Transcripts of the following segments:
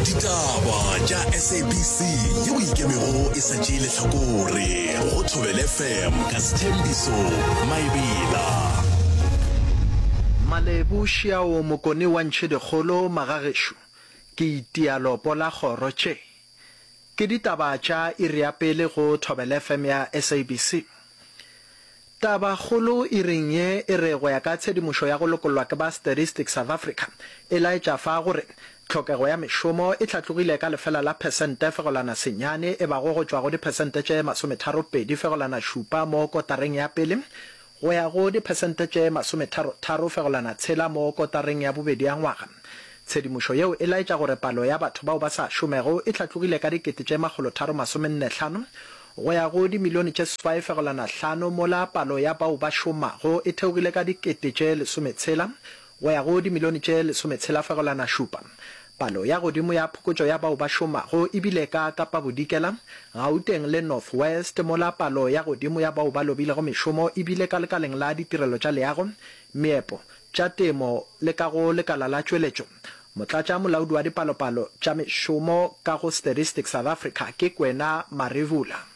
Ditaba tša SABC yeo e ikemego e sa tšee lehlakore go Thobela FM ka Sthembiso Maebela. Malebu Šiao Mokone wa Ntšhedikgolo Magagešo ke itia lopo la kgoro tše ke ditaba tša iri ya pele go Thobela FM ya SABC. Tabakgolo iring ye e re go ya ka tshedimošo ya go lokollwa ke ba Statistics South Africa e laetša fa gore tlhokego ya mešomo e hlatlogile ka lefela la phesente fegolana senyane e bago go tšwa go diphesente tše masometharopedi fegolana šupa mo kotareng ya pele go ya go diphesente tše masometharotharo fegolana tshela mo kotareng ya bobedi ya ngwaga. Tshedimošo yeo e laetša gore palo ya batho bao ba sa šomego e hlatlogile ka dikete tše makgolotharo-masomennehlano go ya go dimilione tše seswai-fegelwana-hlano mola palo ya bao ba šomago e theogile ka dikete tše lesometshela go ya go dimilione tše lesometshela-fegelwana-šupa. Palo ya godimo ya phokotšo ya bao ba šomago e bile ka Kapa Bodikela, Gauteng le North West mola palo ya godimo ya bao ba lobilego mešomo e bile ka lekaleng la ditirelo tša leago, meepo, tša temo le ka go lekala la tšweletšo. Motlatša molaodi wa dipalopalo tša mešomo ka go Statistics South Africa ke Kwena Marevula.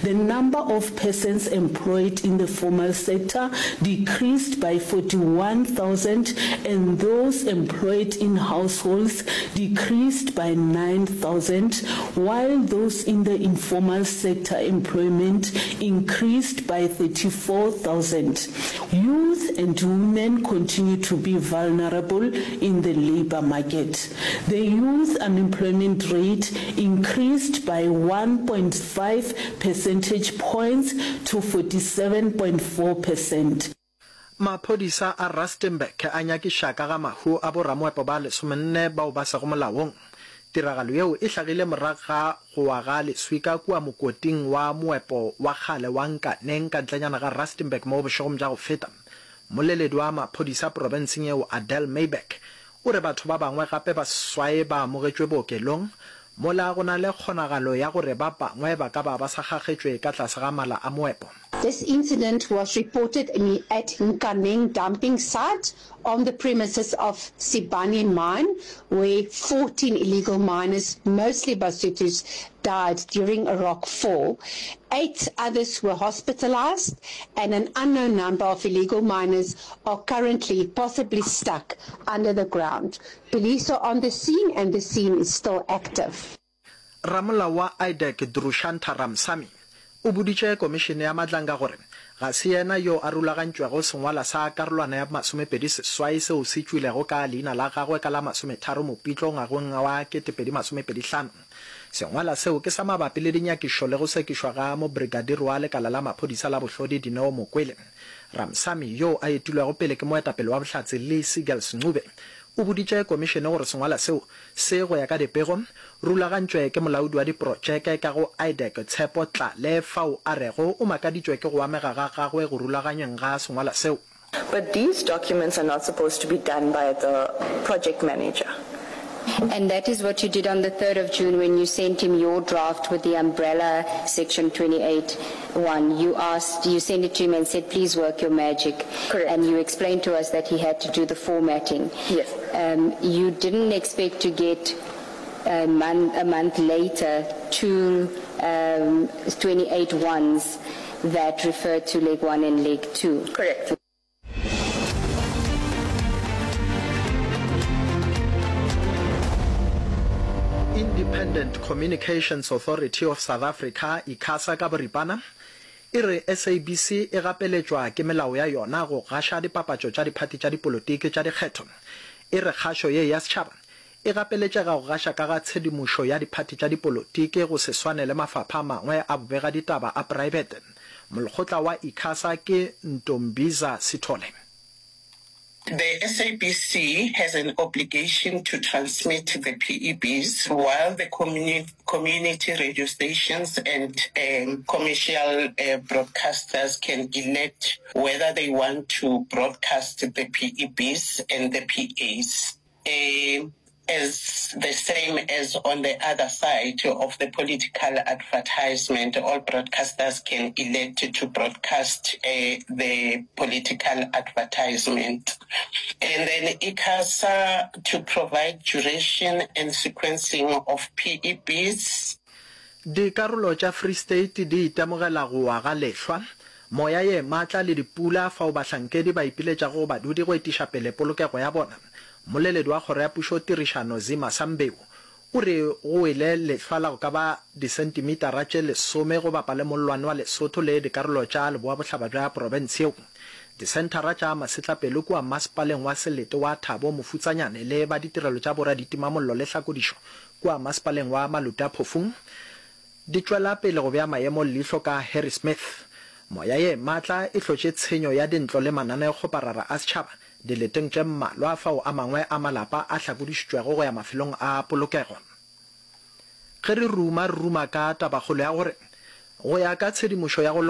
The number of persons employed in the formal sector decreased by 41,000 and those employed in households decreased by 9,000 while those in the informal sector employment increased by 34,000. Youth and women continue to be vulnerable in the labour market. The youth unemployment rate increased by 1.5 percentage points to 47.4 percent. Maphodisa a Rustenburg a nyakiša ka ga mahu a boramoepo ba lesomenne bao ba sego molaong. Tiragalo yeo e hlagile morago ga go wa ga leswika kua mokoting wa moepo wa kgale wa Nkaneng ka ntlenyana ga Rustenburg mo bošegong bja go feta. Mmoleledi wa maphodisa profenseng yeo Adele Myburgh o re batho ba bangwe gape ba seswai ba amogetšwe bookelong mola go na le kgonagalo ya gore ba bangwe ba ka ba ba sa kgakgetšwe ka tlase ga mala a moepo. This incident was reported at Nkaneng dumping site on the premises of Sibanye mine where 14 illegal miners, mostly Basutus, died during a rock fall. Eight others were hospitalized and an unknown number of illegal miners are currently possibly stuck under the ground. Police are on the scene and the scene is still active. Ramolao wa IDAC Drushantha Ramsamy o boditše Komišene ya Madlanga gore ga se yena yo a rulagantšwego sengwalwa sa karolwana ya 28 seo se tšwilego ka leina la gagwe ka la 30 Mopitlo ngwageng wa 2025. Sengwalwa seo ke sa mabapi le dinyakišo le go sekišwa ga Mobrigadiri wa Lekala la Maphodisa la Bohlodi Dineo Mokwele. Ramsamy, yoo a etilwego pele ke moetapele wa Bohlatse Lee Seagulls Ncube, o boditše komišene gore sengwalwa seo Se, go ya ka dipego, rulagantšwe ke molaodi wa diprotšeke ka go IDAC Tshepo Tlale fao a rego o makaditšwe ke go amega ga gagwe go rulaganyweng ga sengwalwa seo. But these documents are not supposed to be done by the project manager. And that is what you did on the 3rd of June when you sent him your draft with the umbrella section 28 one. You asked, you sent it to him and said, please work your magic. Correct. And you explained to us that he had to do the formatting. Yes. Um, you didn't expect to get a month, a month later two um, 28 ones that refer to leg one and leg two. Correct. Independent Communications Authority of South Africa, ICASA ka boripana, e re SABC e gapeletšwa ke melao ya yona go gaša dipapatšo tša diphathi tša dipolotiki tša dikgetho. E re kgašo ye ya setšhaba e gapeletšega go gaša ka ga tshedimošo ya diphathi tša dipolotiki go se swane le mafapha a mangwe a bobegaditaba a praebete. Molekgotla wa ICASA ke Ntombiza Sithole. The SABC has an obligation to transmit the PEBs while the community radio stations and commercial broadcasters can elect whether they want to broadcast the PEBs and the PAs. As the same as on the other side of the political advertisement, all broadcasters can elect to broadcast the political advertisement. And then ICASA to provide duration and sequencing of PEBs. Dikarolo tša Free State di itemogela go wa ga lehlwa, moya ye matla le dipula fao bahlankedi ba ipiletšago go badudi go etiša pele polokego ya bona. Mmoleledi wa Kgoro ya Pušo Tirišano Zima Sambeu o re go wele lehlwa la go ka ba disentimetara tše lesome go bapa le mollwane wa Lesotho le dikarolo tša leboa-bohlaba bja profense yeo. Disenthara tša masetlapelo kua masepaleng wa selete wa Thabo Mofutsanyane le ba ditirelo tša boraditimamollo le hlakodišo kua masepaleng wa Maluti-a-Phofung di tšwela pele go bea maemo leihlo ka Harrismith. Moya ye matla e hlotše tshenyo ya dintlo le mananeokgoparara a setšhaba dileteng tše mmalwa fao a mangwe a malapa a hlakodišitšwego go ya mafelong a polokego. Ge re ruma, re ruma ka tabakgolo ya gore go ya ka tshedimošo ya go.